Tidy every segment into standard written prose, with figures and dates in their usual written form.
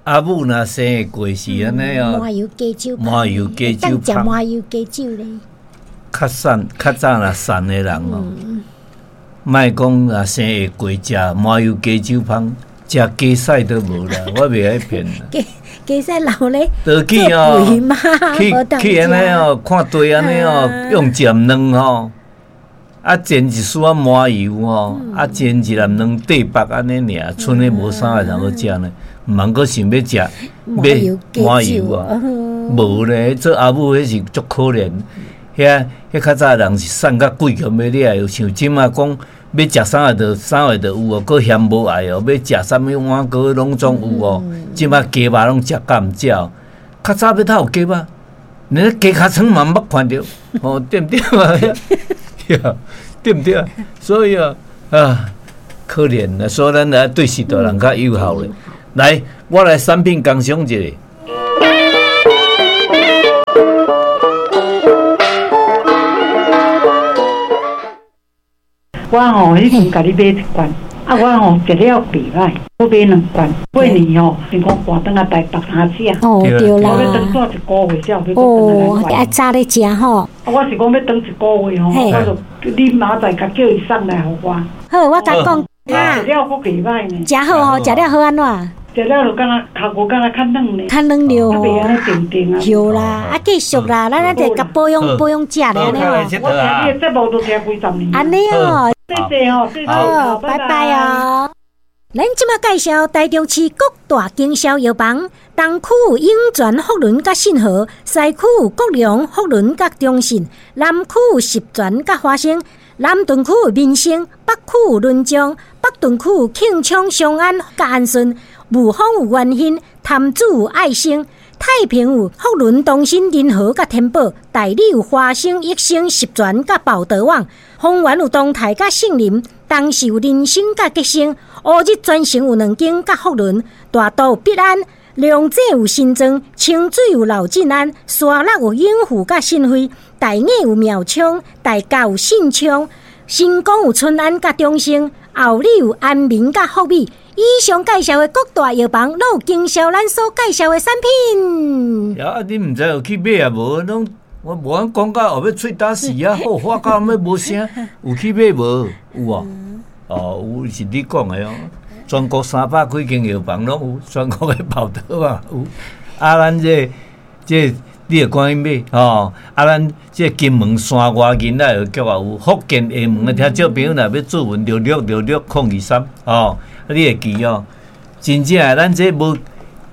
阿母若生會過是按呢哦，麻油雞酒，麻油雞酒，食麻油雞酒咧。較瘦較早若瘦的人哦，莫講若生會過食麻油雞酒芳，食雞屎都無啦，我袂愛騙啦。雞雞屎流咧，倒去哦，去去按呢哦，看地按呢哦，用鹹卵吼，啊煎一絲仔麻油吼，啊煎一粒卵塊腹按呢爾，賰咧無啥個人好食呢。毋通閣想欲食買麻油啊，無咧，做阿母彼是足可憐。遐彼較早人是瘦甲鬼強欲掠，像這馬講欲食啥个就啥个就有哦，閣嫌無愛哦，欲食啥物碗糕攏總有哦。這馬雞肉攏食甲毋少，較早欲佗有雞肉，連雞尻川嘛毋捌看著，哦，對毋對啊？對毋對啊？所以啊，啊，可憐啊，所以咱來對序大人較友好咧。來，我來產品工商一下。我吼，彼阵共你買一罐，啊，我吼食了袂䆀，我買兩罐。過年吼，想講搬轉來台北通食。哦，對啦。我欲轉蹛一個月才有欲閣轉來。哦，愛早咧食吼。啊，我是講欲轉一個月吼，我就你明仔載共叫伊送來予我。好，我共講。食了閣袂䆀呢。食好吼，食了好按怎？食了就感覺頭骨敢若較軟呢。較軟著吼。袂按呢定定啊。對啦，啊繼續啦，咱咱就共保養保養食咧按呢哦。我聽你的節目都聽幾十年。按呢哦。謝謝哦，謝謝。好，拜拜哦。咱這馬介紹台中市各大經銷藥房，東區有湧泉福倫佮信和，西區有國良福倫佮中信，南區有十全佮華生，南屯區有民生，北區有麟彰，北屯區有慶昌、長安佮安順，霧峰有元興，潭子有愛生，太平有福倫東新仁和佮天寶，大里有華生、益生、十全佮寶德網，豐原有東泰佮杏林，東勢有人生佮吉星，烏日全城有兩間佮福倫，大肚有必安，龍井有新莊，清水有老進安，沙鹿有永福佮信惠，大雅有妙昌，大甲有信昌，新光有春安佮中兴，后里有安民佮福美。以上介紹的各大藥房，攏有經銷咱所介紹的產品。啊，你毋知有去買啊無？攏我無按講到後尾喙焦死啊，好發到尾無聲，有去買無？有哦，哦，有是你講的哦。全國300幾間藥房攏有，全國的報道嘛有。啊，咱這這你著趕緊買吼。啊，咱這金門山外囡仔藥局也有，福建廈門的聽眾朋友若欲注文6666 023吼。啊，你會記哦，真正的，咱這無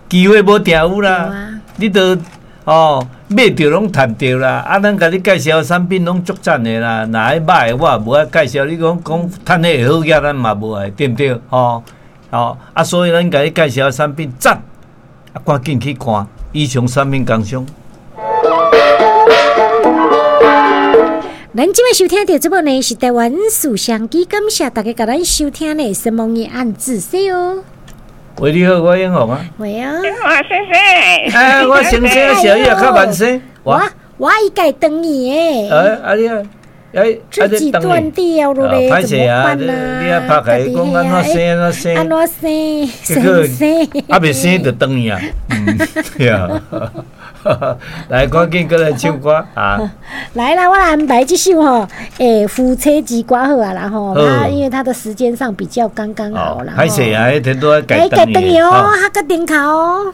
機會無定有啦，你都哦買著攏趁著啦。啊，咱共你介紹的產品攏足讚的啦，若彼歹的我也無愛介紹。你講講趁彼會好額，咱嘛無愛，對毋對？吼哦啊，所以咱共你介紹的產品讚，啊，趕緊去看以上產品工商。咱這擺收聽著這部呢是台灣事相機，感謝大家共咱收聽呢，什麼的暗自說哦。喂，你好，我永紅啊。喂啊。我先生。哎，我先生小葉較慢生。我我伊家斷去的。哎，啊你啊，哎，自己斷掉了咧，怎麼辦啊？你啊拍開講按怎生按怎生，按怎生生生，啊袂生就斷去啊。嗯，對啊。來，趕緊閣來唱歌啊！來啦，我來安排這首吼，欸，夫妻之歌好啊啦吼。啊，因為它的時間上比較剛剛好啦。歹勢啊，彼天拄仔改斷去哦，較閣頂頭哦。